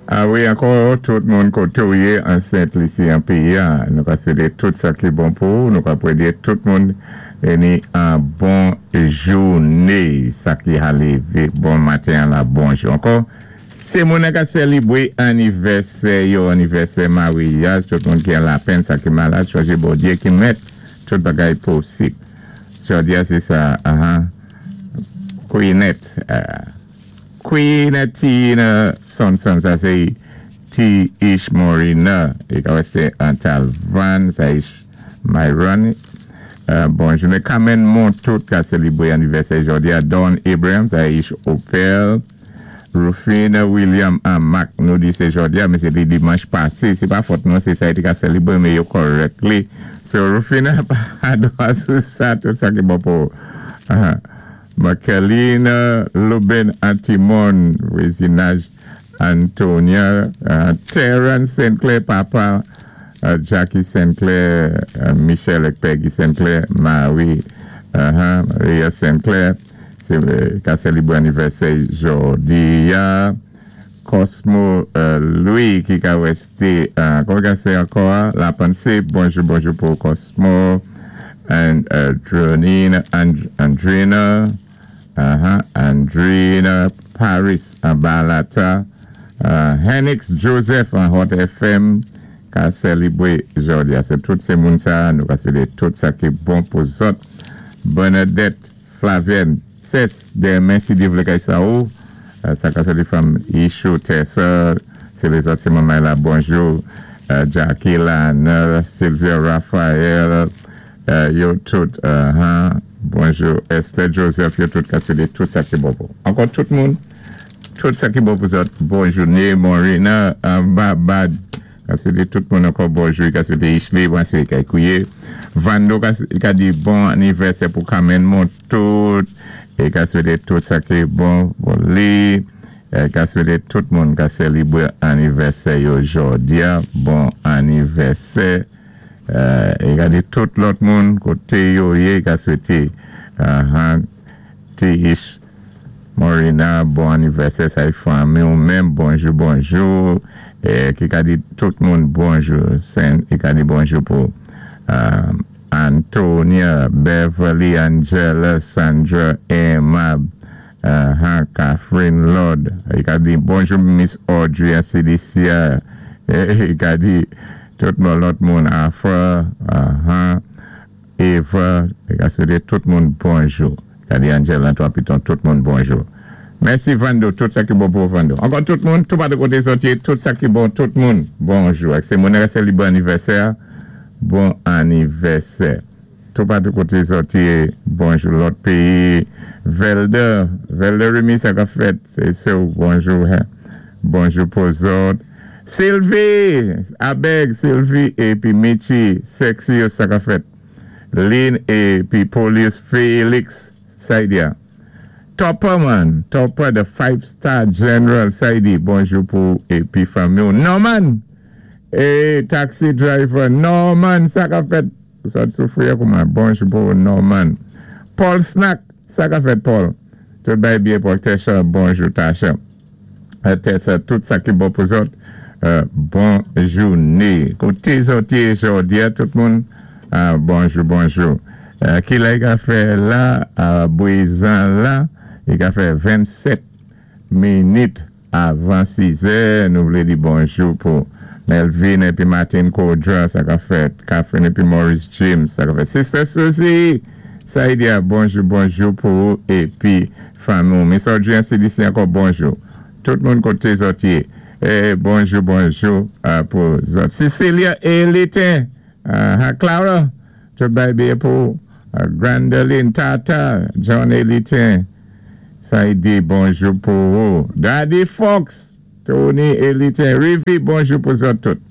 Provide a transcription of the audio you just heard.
A wi, ankò tout moun koté ou yé an Sent Lisi, an péyi a, nou ka swété tout sa ki bon pou ou, nou ka pwédé tout moun ni an bon jouné, sa ki ka lévé bon maten an la, bonjou ankò. Sé moun an ka sélibwé anivèsè yo, anivèsè maryaj, tout moun ki an lapenn, sa ki malad, chonjé Bondyé ki mèt tout bagay posib. Jòdi a sé sa, aha, Queenette, Queenettina Sonson, sa sé T. Ish Morina, i ka wèsté an Talvan, sa ish Myron. Bon jouné. Carmen Montout ka sélibwé anivèsè jòdi a. Don Abraham, sa ish Opel. Rufina William an Mac, nou di sé jòdi a, men sé té dimanch pasé. Sé pa fòt nou, sé sa i té ka sélibwé, men yo correctly. So Rufina pa dwa sou sa, tout sa ki bon pou Makelina Lubin Antimon, vwazinaj Antonia, Terence Sinclair, papa Jackie Sinclair, Michel et Peggy Sinclair, Marie, Maria Sinclair, sé ka sélibwé anivèsè jòdi a. Cosmo Louis ki ka wèsté, kòman ka sé ankò a? La Pensée, bonjou, bonjou pou Cosmo, and Dronina, Andrina, Andrina Paris, an Balata, Henix Joseph an Hot FM, ka sélibwé jòdi a. Sé tout sé moun sa, nou ka swété tout sa ki bon pou zòt. Bernadette Flavienne, Ses, denmen si Dye vlé kay sa ou, sa ka sòti from Ishu Tessa, sé lézòt sé manmay la, bonjou, Jackie Lana, Sylvia Raphael, yo tout, bonjou, Esther Joseph, yo tout ka swété tout sa ki bon pou. Ankò tout moun, tout sa ki bon pou zòt, bon jouné, Morina, Babad, ka swété tout moun ankò bonjou, ka swété Ishley, mwen swété kay kouye, Vando ka di bon anivèsè pou Carmen Montout, é ka swété tout sa ki bon pou li, ka swété tout moun ka sélibwé anivèsè yo jòdi a, bon anivèsè, é ka di tout lòt moun koté yo yé, ka swété T. Ish Morina, bon anivèsè, sa é fanmi ou menm, bonjou, bonjou, ki ka di tout moun bonjou, sen, i ka di bonjou pou Antonia, Beverly, Angela, Sandra, Emma, Catherine Lord, i ka di bonjou Miss Audrey a CDC, i ka di tout moun lòt moun Afra, Eva, i ka swété tout moun bonjou. Ka di Angela, Antoine Piton, tout moun bonjou. Mèsi Vando, tout sa ki bon pou Vando. Ankò tout moun, tout patou koté zòt yé, tout sa ki bon, tout moun, bonjou. Ak sé moun ka sélibwé anivèsè, bon anivèsè. Tout patou koté zòt yé, bonjou. Lòt péyi, Velder, Velder Remy, sa k ap fèt, sé sé ou, bonjou. Bonjou pou zòt. Sylvie, Abeg, Sylvie, épi Michi, Sexy, sa k ap fèt. Lynn épi Polius Felix, Saidia. Topper man, Topper the five star general, Saidi, bonjou pou épi fanmi. Norman, é taxi driver, Norman, sa k ap fèt. Sa te soufwi kouman? Bonjou pou Norman. Paul Snack, sa k ap fèt Paul? Tout bay byen Paul. Tesha, bonjou Tasha. Tessa, tout sa ki bon pou zòt. Bon jouné. Koté zòt yé jòdi a, tout moun, bonjou, bonjou. Ki lè i ka fè la, bwézan la, i ka fè 27 minit avan 6 è, nou vlé di bonjou pou Melvin épi Martin Kodra, sa k ap fèt, Catherine épi Maurice James, sa k ap fèt, Sister Suzy, Saidia, bonjou, bonjou pou ou épi fanmi ou. Miss Audrey an CDC ankò bonjou. Tout moun koté zòt yé, bonjou, bonjou pou zòt. Cecilia Elitin, Clara, tout bay byen pou ou. Grandeline Tata, John Elitin, Saidi, bonjou pou ou. Daddy Fox, Tony Elitin, Rivi, bonjou pou zòt tout.